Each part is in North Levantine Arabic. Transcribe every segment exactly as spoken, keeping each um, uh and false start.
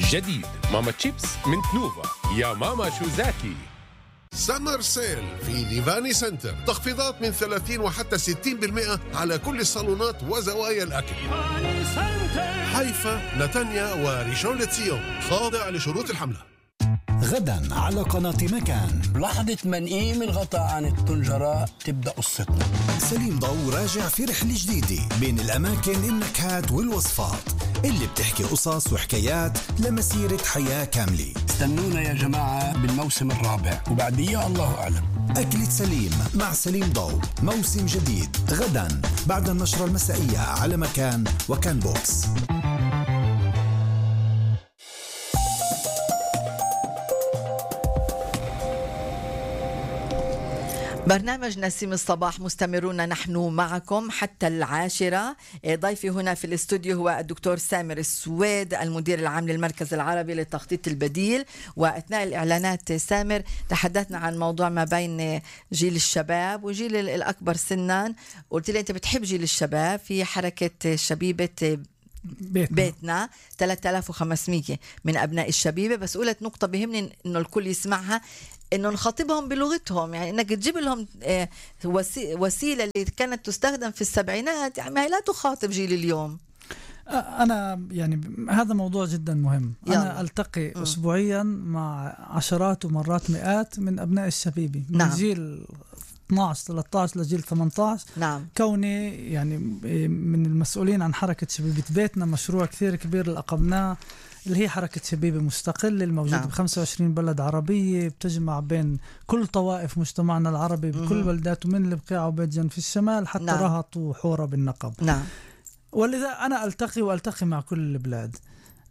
جديد ماما تشيبس من تنوفا. يا ماما شو زاكي. سمر سيل في نيفاني سنتر، تخفيضات من ثلاثين وحتى ستين بالمئة على كل الصالونات وزوايا الأكل. حيفا، نتانيا وريشون لتسيون، خاضع لشروط الحملة. غدا على قناة مكان. بلحظة منقيم الغطاء عن الطنجرة تبدأ قصتنا. سليم ضو راجع في رحلة جديدة بين الأماكن، النكهات والوصفات اللي بتحكي قصص وحكايات لمسيرة حياة كاملة. استنونا يا جماعة بالموسم الرابع وبعديه الله أعلم. أكلة سليم مع سليم ضو، موسم جديد غدا بعد النشرة المسائية على مكان وكان بوكس. برنامج نسيم الصباح مستمرون نحن معكم حتى العاشرة. ضيفي هنا في الاستوديو هو الدكتور سامر السويد، المدير العام للمركز العربي للتخطيط البديل. وأثناء الإعلانات سامر تحدثنا عن موضوع ما بين جيل الشباب وجيل الأكبر سنا. قلت لي أنت بتحب جيل الشباب في حركة شبيبة بيتنا, بيتنا ثلاثة آلاف وخمسمية من أبناء الشبيبة. بس قلت نقطة بهمني إنه الكل يسمعها، إنه نخاطبهم بلغتهم، يعني إنك تجيب لهم وسيلة اللي كانت تستخدم في السبعينات، يعني هي لا تخاطب جيل اليوم. أنا يعني هذا موضوع جدا مهم. يلا. أنا ألتقي م. أسبوعيا مع عشرات ومرات مئات من أبناء الشبيبة من نعم. جيل اثناشر ثلاثة عشر لجيل ثمانية عشر. نعم. كوني يعني من المسؤولين عن حركة شبيبة بيتنا، مشروع كثير كبير اللي أقمناه اللي هي حركة شبيبة مستقلة الموجودة نعم. بخمسة وعشرين بلد عربية، بتجمع بين كل طوائف مجتمعنا العربي بكل بلداته، من البقيع وبيت جن في الشمال حتى نعم. رهط وحورة بالنقب. نعم. ولذا أنا ألتقي وألتقي مع كل البلاد.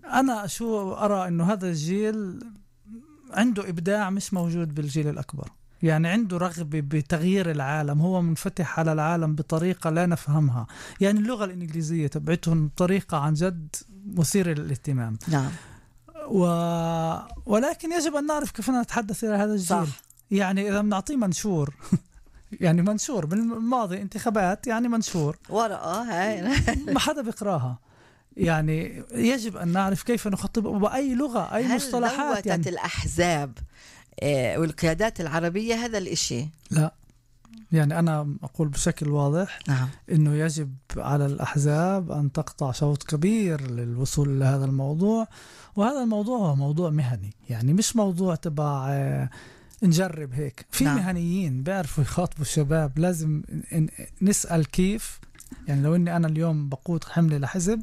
أنا شو أرى إنه هذا الجيل عنده إبداع مش موجود بالجيل الأكبر، يعني عنده رغبة بتغيير العالم، هو منفتح على العالم بطريقة لا نفهمها. يعني اللغة الإنجليزية تبعتهم طريقة عن جد مثيرة للاهتمام. نعم. و... ولكن يجب أن نعرف كيف نتحدث إلى هذا الجيل. صح. يعني إذا بنعطيه منشور يعني منشور بالماضي انتخابات، يعني منشور ورقة هاي ما حدا بيقراها. يعني يجب أن نعرف كيف نخطب بأي لغة، أي هل مصطلحات. يعني الأحزاب والقيادات العربية هذا الإشي؟ لا، يعني أنا أقول بشكل واضح نعم. إنه يجب على الأحزاب أن تقطع شوط كبير للوصول لهذا الموضوع. وهذا الموضوع هو موضوع مهني، يعني مش موضوع تبع نجرب هيك. في نعم. مهنيين بيعرفوا يخاطبوا الشباب. لازم نسأل كيف. يعني لو إني أنا اليوم بقود حملة لحزب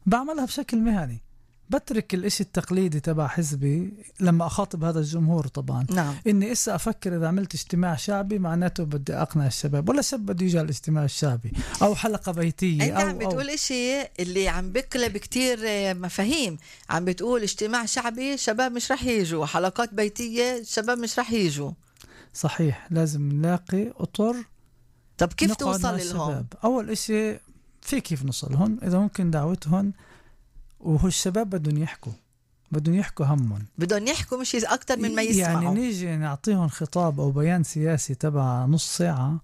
بعملها بشكل مهني، بترك الاشي التقليدي تبع حزبي لما أخاطب هذا الجمهور. طبعا نعم. إني إسا أفكر إذا عملت اجتماع شعبي معناته بدي أقنع الشباب، ولا شاب بده يجي على الاجتماع الشعبي أو حلقة بيتية. أنت عم بتقول إشي اللي عم بقلب كتير مفاهيم. عم بتقول اجتماع شعبي شباب مش رح يجوا، حلقات بيتية شباب مش رح يجوا. صحيح، لازم نلاقي أطر. طب كيف توصل لهم؟ أول إشي في كيف نوصلهم، إذا ممكن دعوتهم. وهو الشباب بدهم يحكوا بدهم يحكوا همهم، بدهم يحكوا مش أكتر من ما يسمعوا. يعني نيجي نعطيهم خطاب أو بيان سياسي تبع نص ساعة،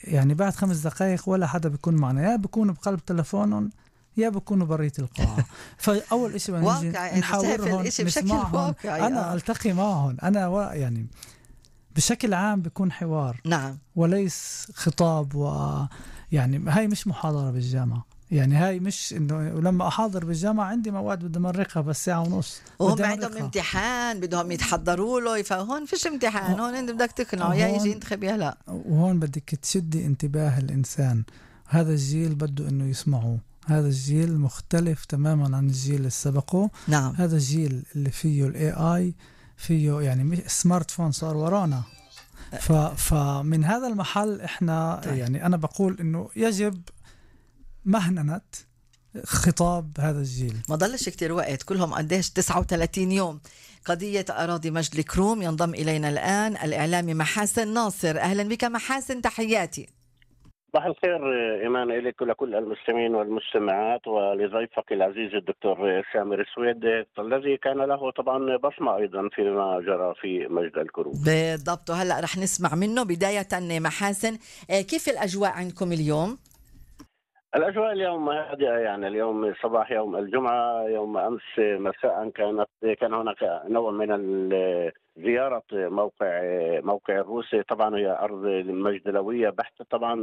يعني بعد خمس دقائق ولا حدا بيكون معنا، يا بيكونوا بقلب تلفونهم يا بيكونوا برية القاعة. فأول إشي بنجي نحاورهم نسمعهم. أنا ألتقي معهم. أنا و... يعني بشكل عام بيكون حوار نعم، وليس خطاب. ويعني هاي مش محاضرة بالجامعة، يعني هاي مش إنه لما أحاضر بالجامعة عندي مواد بدي مرقها بس ساعة ونص، وهم عندهم امتحان بدهم يتحضروا له. فهون فيش امتحان، هون انت بدك تقنعه يا يجي ينتخب يا لا. وهون بدك تشدي انتباه الإنسان. هذا الجيل بده إنه يسمعوا. هذا الجيل مختلف تماما عن الجيل اللي سبقه. نعم. هذا الجيل اللي فيه الاي اي، فيه يعني سمارت فون صار ورانا. ف فمن هذا المحل احنا طيب. يعني أنا بقول إنه يجب مهننة خطاب هذا الجيل. ما ضلش كتير وقت، كلهم قديش تسعة وثلاثين يوم. قضية أراضي مجد الكروم. ينضم إلينا الآن الإعلامي محاسن ناصر. أهلا بك محاسن، تحياتي. صباح الخير إيمان إليك ولكل المستمعين والمستمعات ولضيفك العزيز الدكتور سامر السويد الذي كان له طبعا بصمة أيضا فيما جرى في مجد الكروم. بالضبط، وهلأ رح نسمع منه. بداية محاسن، كيف الأجواء عندكم اليوم؟ الأجواء اليوم هادئة، يعني اليوم صباح يوم الجمعة. يوم أمس مساء كانت كان هناك نوع من ال- زيارة موقع موقع الروسي. طبعا هي أرض مجدلوية بحتة. طبعا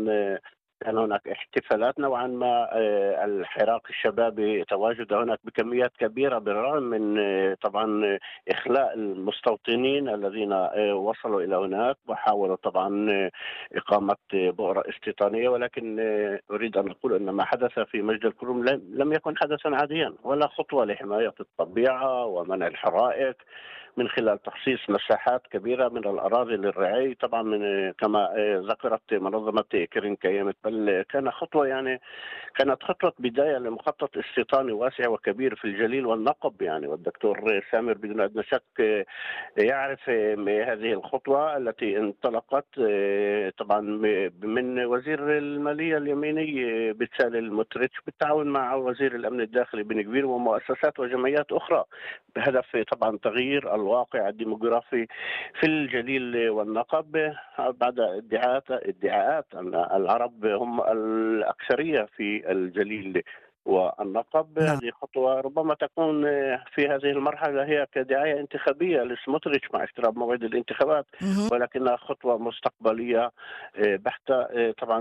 كان هناك احتفالات نوعا ما. آه، الحراك الشبابي تواجد هناك بكميات كبيرة، بالرغم من آه، طبعا إخلاء المستوطنين الذين آه، وصلوا إلى هناك وحاولوا طبعا آه، إقامة بؤرة استيطانية. ولكن آه، أريد أن أقول أن ما حدث في مجد الكروم لم لم يكن حدثا عاديا، ولا خطوة لحماية الطبيعة ومنع الحرائق من خلال تخصيص مساحات كبيرة من الأراضي للرعي. طبعا من كما آه، ذكرت منظمة كرين كيامت، بل كان خطوة يعني كانت خطوة بداية لمخطط استيطاني واسع وكبير في الجليل والنقب. يعني والدكتور سامر بدون أدنى شك آه، يعرف آه، هذه الخطوة التي انطلقت آه، طبعا من وزير المالية اليميني آه، بتسالي المتريتش بالتعاون مع وزير الأمن الداخلي بن كبير ومؤسسات وجمعيات أخرى، بهدف طبعا تغيير الواقع الديموغرافي في الجليل والنقب بعد ادعاءات ادعاءات ان العرب هم الاكثريه في الجليل والنقب. نعم. هذه خطوه ربما تكون في هذه المرحله هي كدعايه انتخابيه لسموتريتش مع اقتراب موعد الانتخابات، مهم. ولكنها خطوه مستقبليه بحته. طبعا